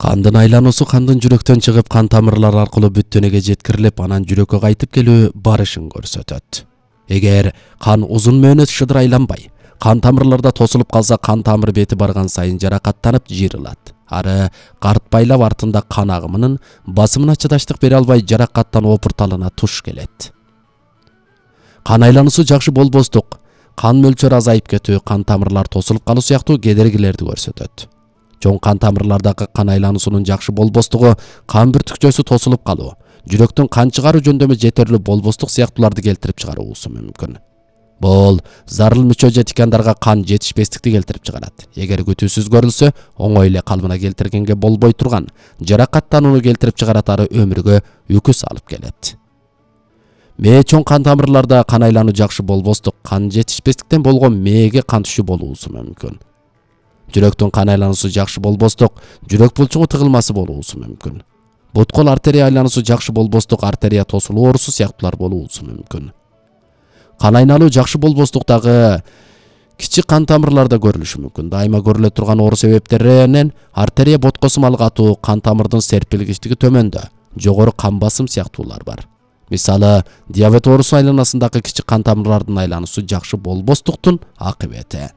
Кандын айлануусу кандын жүрөктөн чыгып, кан тамырлар аркылуу бүт денеге жеткирилип, анан жүрөккө кайтып келүү барышын көрсөтөт. Эгер кан узун мөөнөт шыдыр айланбай, кан тамырларда тосулуп калса, кан тамыр бети барган сайын жаракаттанып жыйрылат. Ары картпайлап артында кан агымынын басымына чыдаштык бере албай, жаракаттан опурталына туш келет. Кан айлануусу жакшы болбостук, кан мөлчөрү азайып кетүү, кан тамырлар тосулуп калуу сыяктуу кедергилерди көрсөтөт. Чоң кан тамырлардагы кан айлануусунун жакшы болбостугу, кан бүртүкчөсү тосулуп калуу, жүрөктүн кан чыгаруу жөндөмү жетерлүү болбостук сыяктууларды келтирип чыгаруусу мүмкүн. Бул зарыл мүчө же тикандарга кан жетишпестикти келтирип чыгарат. Эгер күтүүсүз көрүлсө, оңой эле калыбына келтиргенге болбой турган жаракаттанууну келтирип чыгарат, ары өмүргө үкүс алып келет. Мээ чоң кан тамырларда кан айлануу жакшы болбостук, кан жетишпестиктен болгон мээге кан түшүү болуусу мүмкүн. Жүрөктүн кан айлануусу жакшы болбостук, жүрөк булчуңу тыгылмасы болуусу мүмкүн. Буткол артерия айлануусу жакшы болбостук, артерия тосулуу оорусу сыяктуулар болуусу мүмкүн. Кан айналуу жакшы болбостуктагы кичик кан тамырларда көрүлүшү мүмкүн. Дайыма көрүлө турган оору себептеринен артерия боткосумал катуу, кан тамырдын серпилгичтиги төмөндө, жогору кан басым сыяктуулар бар. Мисалы, диабет оорусу айланасындагы кичик кан тамырлардын айлануусу жакшы болбостуктун акыбети.